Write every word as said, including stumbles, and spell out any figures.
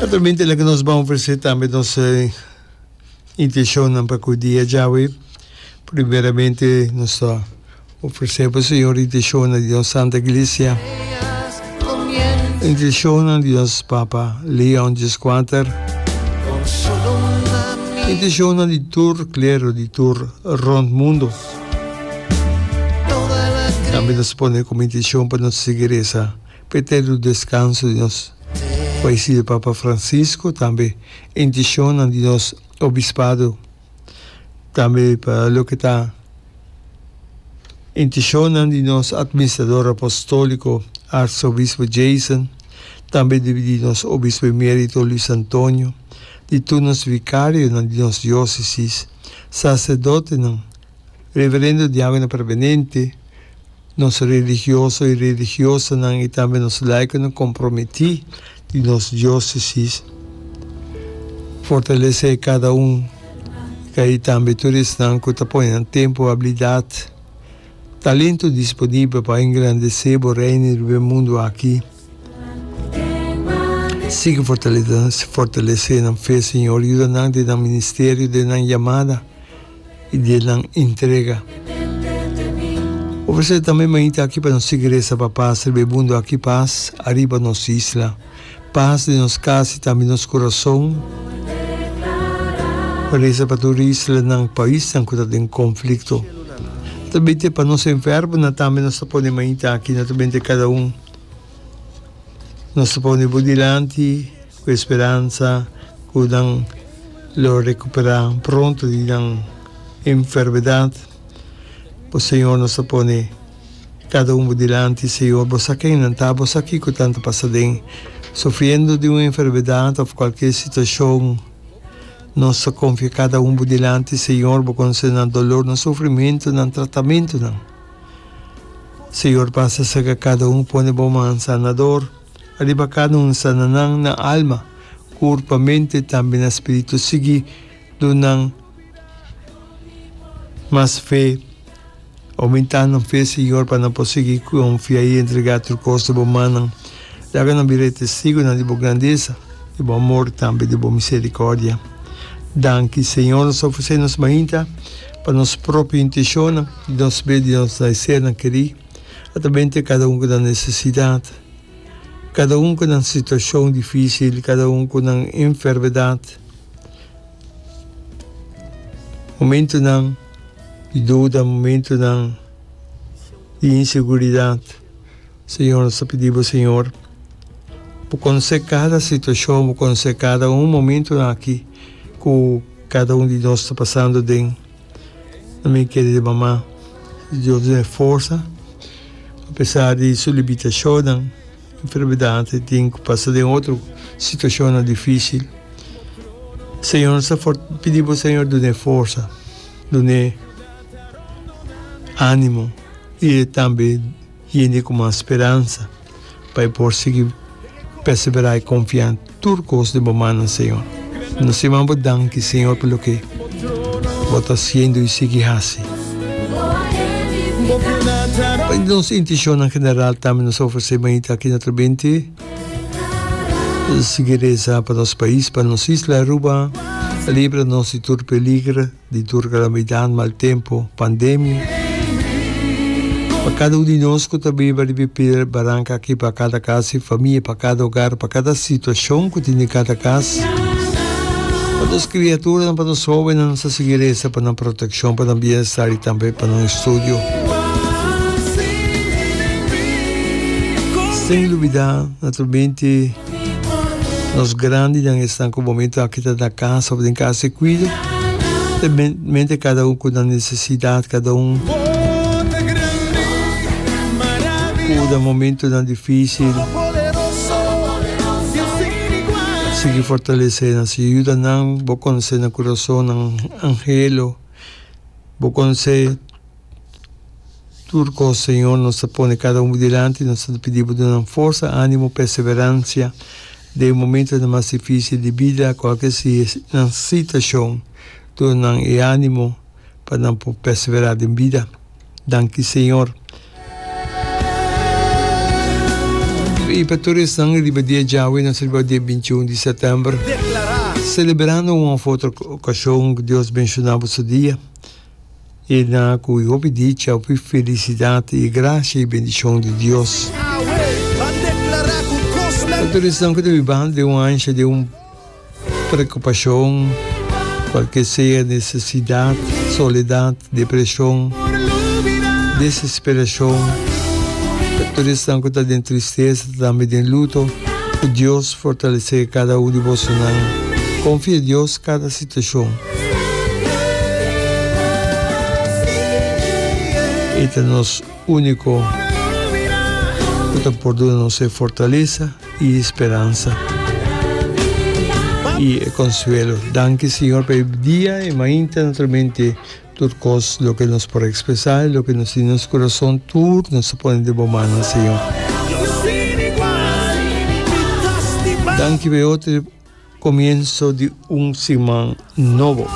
Naturalmente laga nos ban ofresé tambe nos intenshonnan pa ku dia djawe. Primeramente nos ta ofresé pa Señor intenshonnan di nos Santa Iglesia, intenshonnan di nos Papa Leon Dieskuater, intenshonnan di tur klero di tur rònt mundu. Tambe nos pone komo intenshon pa nos sigui resa pa eterno deskanso di nos fayesido Papa Francisco, tambe intenshonnan di nos obispado, tambe pa loke ta intenshonnan di nos administrador apostóliko Arsobispo Jason, tambe di nos obispo emérito Luis Antonio, di tur nos vikarionan di nos diósesis, saserdotenan, reverendo diákono permanente, nos religioso i religiosanan i tambe nos laikonan komprometí di nos diósesis. Fortalesé kada un i tambe tur esnan ku ta pone nan tempu, abilidat, talento disponibel pa engrandesé bo Reino riba e mundu aki. Sigui fortalesé nan fe, Señor. Yuda nan den nan ministerio, den nan yamada. I di nan entrega. Ofresé tambe mainta aki pa nos sigui resa pa pas riba e mundu aki, pas ariba nos isla, pas den nos kas i tambe nos kurason. Resa pa tur islanan, paisnan ku ta den konflikto. Naturalmente pa nos enfermonan tambe nos ta pone mainta aki, naturalmente kada un nos ta pone bo dilanti. Ku e speransa ku nan lo rekuperá pronto di nan enfermedat. Bo Señor nos ta pone kada un bo dilanti, Señor, bo sa ken nan ta, bo sa kiko nan ta pasa den, sufriendo di un enfermedat òf kualke situashon. Nos ta konfia kada un bo dilanti, Señor, bo konosé nan dolor, nan sufrimentu, nan tratamentunan. Señor, pasa serka kada un, pone bo man sanador. Riba kada un sana nan na alma, kurpa, mente tambe na spiritu. Sigui duna nan mas fe, oumentá nan fe, Señor, pa nan por sigui konfia i entregá tur kos den bo mannan. Laga nan bira e testigunan di bo grandesa, di bo amor tambe di bo miserikòrdia. Danki, Señor. Nos ta ofresé nos mainta pa nos propio intenshonnan, di nos be di nos sernan kerí. A ta bente kada un ku nan nesesidat, kada un ku nan situashon difísil, kada un ku nan enfermedat, momentunan di duda, momentunan di inseguridat. Señor, nos ta pidi bo, Señor, bo konosé kada situashon, bo konosé kada un momentunan aki ku kada un di nos ta pasando den. Mi kere mama Dios dun'e forsa apesar di su limitashonnan, enfermedat e tin ku pasa den otro situashonnan difisil. Señor nos ta pidi bo Señor dun'e forsa, dun'e animo i e tambe yende ku mas speransa. Pa e por sigui perseverá i konfia tur kos den bo mannan, Señor. Nos ta yama bo danki, Señor, pa loke bo ta hasiendo i sigui hasi. Pa nos intenshonnan general tambe nos ta ofresé mainta aki na Trabente. Sigui resa pa nos pais, pa nos isla Aruba. Libra nos di tur peligro. Di tur kalamidat, mal tempu, pandemia. Pa kada un di nos ku ta biba riba e piedra baranka aki, pa kada kas i famia, pa kada ogar, pa kada situashon ku tin den kada kas, pa nos kriaturanan, pa nos hóbennan, nos ta sigui resa pa nan protekshon, pa nan bienestar i tambe pa nan estudio. Sin lubidá, naturalmente. Nos grandinan esnan ku momento aki ta na kas òf den kas di kuido, ta mente kada un ku nan nesesidat, kada un ku na momentonan difísil. Sigui fortalesé nan, sigui yuda nan, bo konosé nan kurason, nan anhelo, bo konosé. Tur kos, Señor, nos ta pone kada un bo dilanti, nos ta pidi bo duna nan forsa, ánimo, perseveransia den e momentonan mas difísil di bida, kualke sea nan situashon, duna nan e ánimo pa nan por perseverá den bida. Danki, Señor. I pa tur esnan riba dia djawe nos riba dia binti un di sètèmber, selebrando un òf otro okashon ku Dios benshoná boso dia i na ku hopi dicha, hopi felisidat i grasia i bendishon di Dios. Pa tur esnan ku ta bibando den un ansha, den un Preokupashon, kualke sea nesesidat, soledat, depreshon, desesperashon, pa tur esnan ku ta den tristesa, tambe den luto, ku Dios fortalesé kada un di bosonan. Konfia Dios kada situashon. E ta nos úniko ku ta por duna nos e fortalesa. I speransa i e konsuelo. Danki Señor pa e dia e mainta naturalmente tur kos loke nos por ekspresá i loke nos tin den nos kurason tur nos ta pone den bo mannan Señor. Danki pa e otro komienso di un siman nobo.